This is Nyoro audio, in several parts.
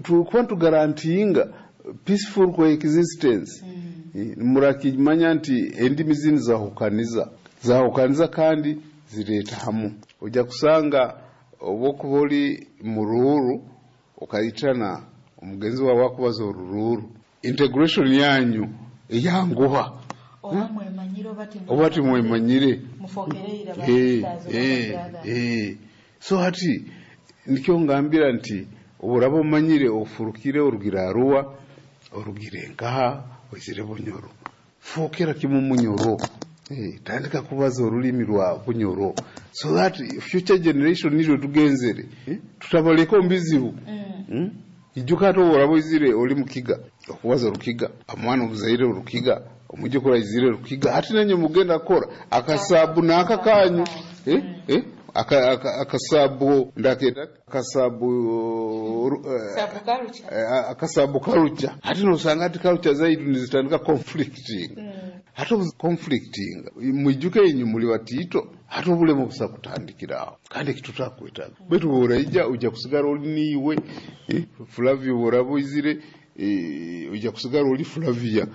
Tukuba nituguaranteeinga peaceful coexistence. Murakimanya nti endimi zinu zahukaniza, zahukaniza kandi zireeta hamu. Ojja kusanga obu okuba oli Muruuru, okaitana omugenzi waawe akubaza Oruruuru, integration yanyu eyanguha. Oba mwemanyire oba oba timwemanyire. Mufokereire ba sisters oba brothers. So hati nikyo ngambira nti oburaba omanyire ofurukire, orugire Arua, orugire nkaha, oizire Bunyoro, fookera kimu Munyoro. Tandika kubaza orulimi rwa Bunyoro so that future generation niryo tugenzere, tutabaleka omu bizibu. Ijuka hati obu oraba oizire oli Mukiga, okubaza Orukiga, omwana omuzaire Orukiga, omwijukuru aizire Rukiga, hati nanye mugenda kukora akasabu n'aka kanyu, eh? Eh? Akasabu ndaketa akasabu Sabu culture. Akasabu culture. Hati nosanga hati culture zaitu nizitandika conflicting. Hati obu conflicting, mwijuke inyu muli batiito, hati obulemu busa kutandikira aho, kandi ekitutakwetaga. Baitu bworaija ojja kusigara oli niiwe, Flavia, bworaba oizire, ojja kusigara oli Flavia,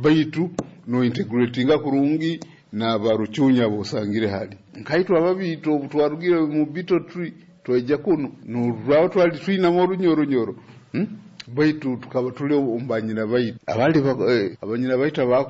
baitu nointegratinga kurungi n'Abarucunya bosangire hali. Nkaitwe Ababiito, obu twarugire mu betel tree twaija kuno, noraba twali twinamu Orunyoronyoro, Baitu tukaba tuli omu banyina baitu abandi, abanyina baitu.